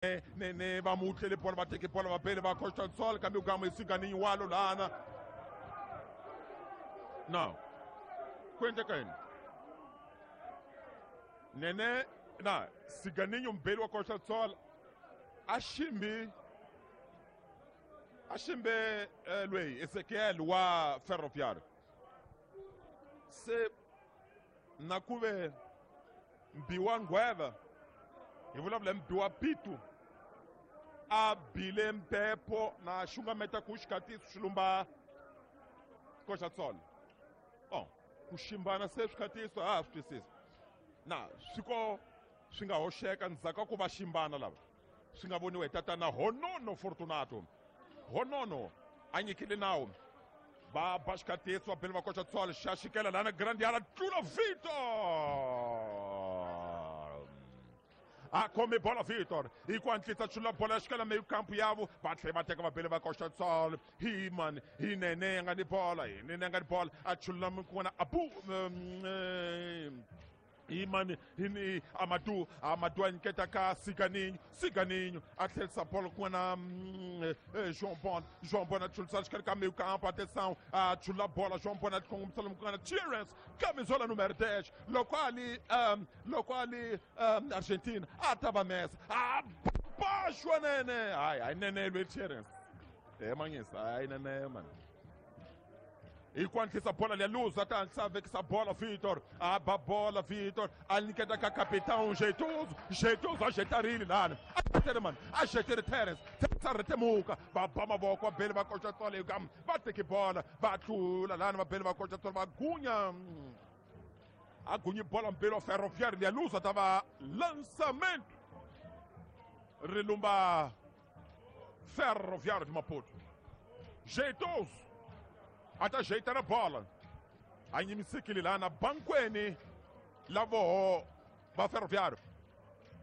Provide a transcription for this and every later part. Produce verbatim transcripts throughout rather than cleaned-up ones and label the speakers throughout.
Speaker 1: Nene va mutlele bola va teke bola va bele va Costa do Sol kambe gama isiganinho walo lana. Não. Ku endleka yini? Nene na Siganinho mbeli wa Costa do Sol a ximbi a ximbe eh, lweyi Ezekiel wa Ferroviário. Se na ku ve mbiwa nghweva hi vulavula mbiwa pitu a bile mpepho na xungameta ku xikatiso xilumba Costa do Sol. Bom, ku ximbana se swikhatiso a ha swi twisisi na swi ko swi nga hoxeka ndzhaku ka ku va ximbana lava swi nga voniwa hi tatana Honono Fortunato. Honono a nyikile nawu va ba xikhatiso va bele va Costa do Sol xa xikela lana grande yala tlula Vitor a khome bola Vitor hi ku hatlisa chula bola ya xikela meio campo yavo va tlhela va teka vabele va Costa do Sol hi mani hi Nene ya nga ni bola hi Nene ya nga ni bola a chula kun'wana abu um, hi mani hi ni Amadou Amadou a nyiketa ka Siganinho Siganinho a tlherisa bola kun'wana mm, eh, João Bon João Bon a chulisa xikarhi ka meio campo atenção a chula bola João Bon a kongomisa lomu kun'wana Terence camisola número dez loko a li um, loko a li um, Argentina a ta va mesa a baxwa Nene hayi hayi Nene lwe Terence e manyisa hayi Nene mani hi ku hatlisa bola liya luza ta hatlisa vekisa bola Vitor a ba bola Vitor a nyiketa ka capitão Jeitoso Jeitoso a jetarile lana a jetere mani a jetere Terence Terence a rhetemuka va ba mavoko va bele va Costa do Sol kam va teki bola va tlula lana va bele va Costa do Sol va gunya a gunyi bola mbele wa Ferroviário liya luza ta va lançamento ri lumba Ferroviário de Maputo. Jeitoso a ta jeita na bola a nyimisekile lana bankweni la voho va Ferroviário.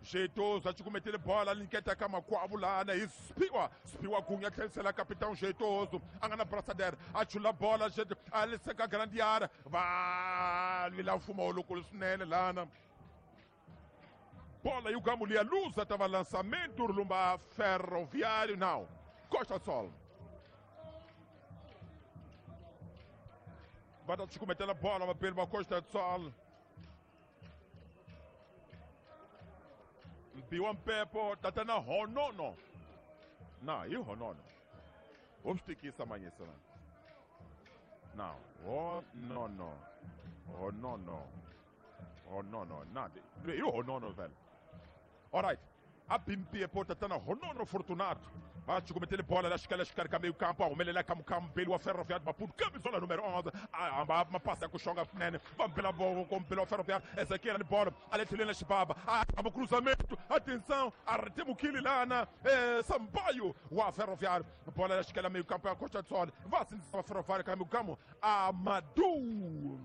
Speaker 1: Jeitoso a cukumetile bola a nyiketa ka makwavo lana hi Spiwa Spiwa gunya tlherisela capitão Jeitoso a nga na brasader a chula bola a liseka grande área va lwela mfumo lowukulu swinene lana bola yi gamu liya luza ta va lançamento ri lumba Ferroviário não Costa do Sol va ta cukumetela bola vapeli va Costa do Sol. Mbiwa mpepho tatana Honono na hi Honono ho swi tikisa manyisa na na Honono Honono Honono na hi Honono vhele. Alright a bimpiepo tatana Honono Fortunato va cukumetele bola la xikala xikarhi ka meio campo a humelela ka mukambeli wa Ferroviário Maputo camisola número onze a hamba mapasi ya ku xonga swinene va mbela voko mbeli wa Ferroviário Ezekiel ni bola a le tlhelweni la xibaba a hamba cruzamento atenção a rhetemukile lana eh, Sampaio wa Ferroviário bola la xikala meio campo ya Costa do Sol va sindzisa Ferroviário ka meio campo Amadou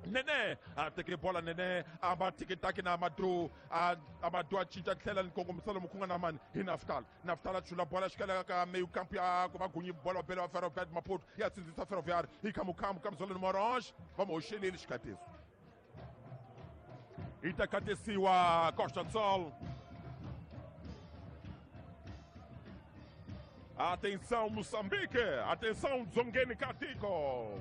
Speaker 1: Nene a teke bola Nene a ba tiki-taki na Amadou a Amadou a cinca tlhela ni kongomisa lomu ku nga na mani hi Naftal Naftal a chula bola xikela ka meio campo ya ku va gunyi bola bele wa Ferroviário Maputo ya sindzisa Ferroviário hi khamukhamu camisola número onze va mu hoxeleli xikatiso yi ta khatisiwa Costa do Sol. Atenção Moçambique, atenção Dzongeni Katiko.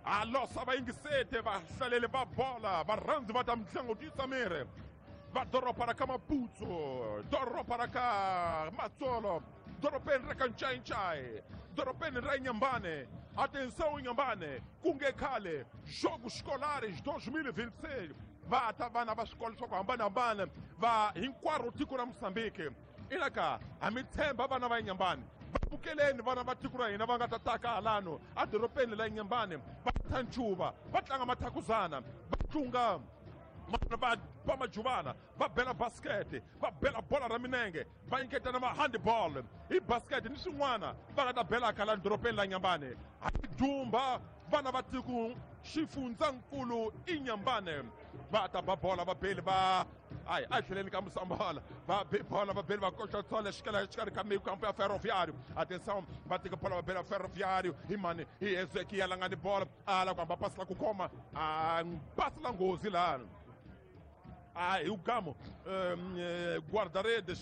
Speaker 1: A losa va yingisete va hlalele va bola va rhandzi va ta mitlangu tisa miri va doroba ra ka Maputo doroba ra ka Matsolo dorobeni ra ka Nchainchai dorobeni ra Inhambane. Atenção Inhambane ku nge khale Jogos Escolares dois mil e vinte e seis va ta vana va swikolo swa ku hambanahambana va hinkwaro tiko ra Moçambique ina ka ha mi tshemba vana va Inhambane vukeleni vana va tiko ra hina va nga ta taka halano edorobeni la Inhambane va ta ncuva va tlanga mathakuzana va tlunga va ba majuvana va bela basket va bela bola ra minenge va nyiketana ma handball hi basket ni swin'wana va nga ta belaka la dorobeni la Inhambane ha dumba vana va tiko xifundzankulu Inhambane va ta ba bola va beli va ai a tlheleni ka Musambala va be bola va beli va Costa do Sol xikela xikarhi ka meio campo ya Ferroviário. Atenção va teka bola va bela Ferroviário hi mani hi Ezekiel a nga ni bola a la ku hamba pasi la ku khoma a pasi la nghozi lana A hi o Gamo, guarda-redes.